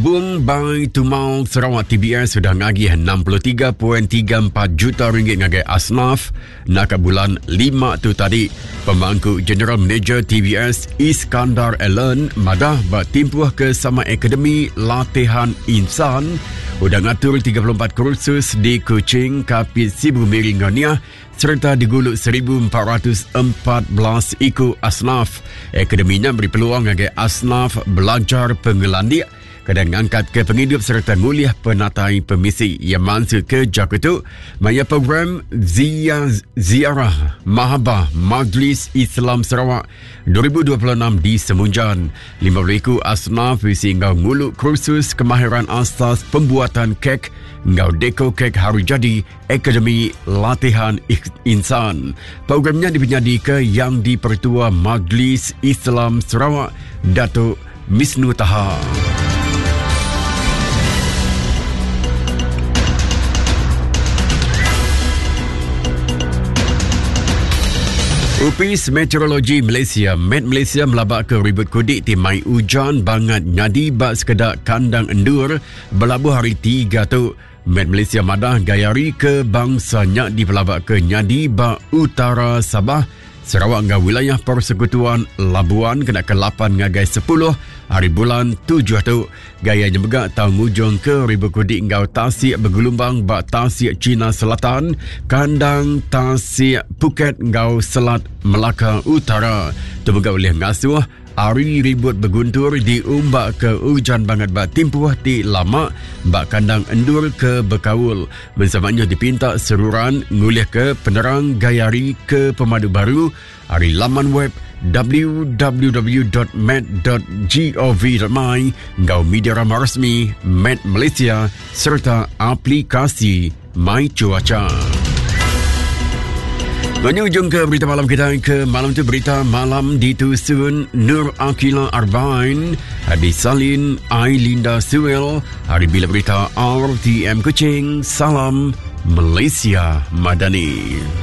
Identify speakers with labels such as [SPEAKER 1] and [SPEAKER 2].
[SPEAKER 1] Bung Bai Tumal Sarawak TBS sudah ngagih 63.34 juta ringgit ngagai Asnaf naka bulan 5 tu tadi. Pemangku General Manager TBS Iskandar Allen madah ba timpuh ke sama Akademi Latihan Insan udah ngatur 34 kursus di Kuching, Kapit, Sibu, Miri enggau Niah sereta digulu 1414 iku asnaf. Akademi nya beri peluang ngagai asnaf belajar pengelandik kena ngangkatka pengidup sereta ngulih penatai pemisi. Iya mansutka jaku tu maya program Zia Ziarah Mahabah Majlis Islam Sarawak 2026 di Semunjan. 50 iku asnaf bisi enggau ngulu kursus kemahiran asas pembuatan kek enggau deko kek hari jadi Akademi Latihan Insan. Programnya dipenyadika Yang di-Pertua Majlis Islam Sarawak, Datuk Misnu Taha. Upis Meteorologi Malaysia, Met Malaysia melabak ke ribut kudik ti mai ujan bangat nyadi ba sekeda kandang endur belabuh hari tiga tu. Met Malaysia madah gaya hari ke bangsa nya dipelabaka nyadi ba utara Sabah, Sarawak enggau wilayah Persekutuan Labuan kena ke 8 ngagai 10 hari bulan 7 tu. Gaya nya mega tau ngujung ke ribu kudik enggau tasik begelumbang ba Tasik China Selatan, kandang Tasik Phuket enggau Selat Melaka Utara. Tu mega ulih ngasuh Ari ribut beguntur diumbak ke ujan bangat ba timpuh ti lama ba kandang endur ke bekaul. Mensia mayuh dipinta seruran ngulihka penerang gaya hari ke pemadu baru ari laman web www.met.gov.my enggau media rama resmi Met Malaysia sereta aplikasi My Cuaca. Menyujung ke berita malam kita ke malam tu berita malam ditusun Nur Akila Arbain disalin Ailinda Suel hari bila berita RTM Kuching salam Malaysia Madani.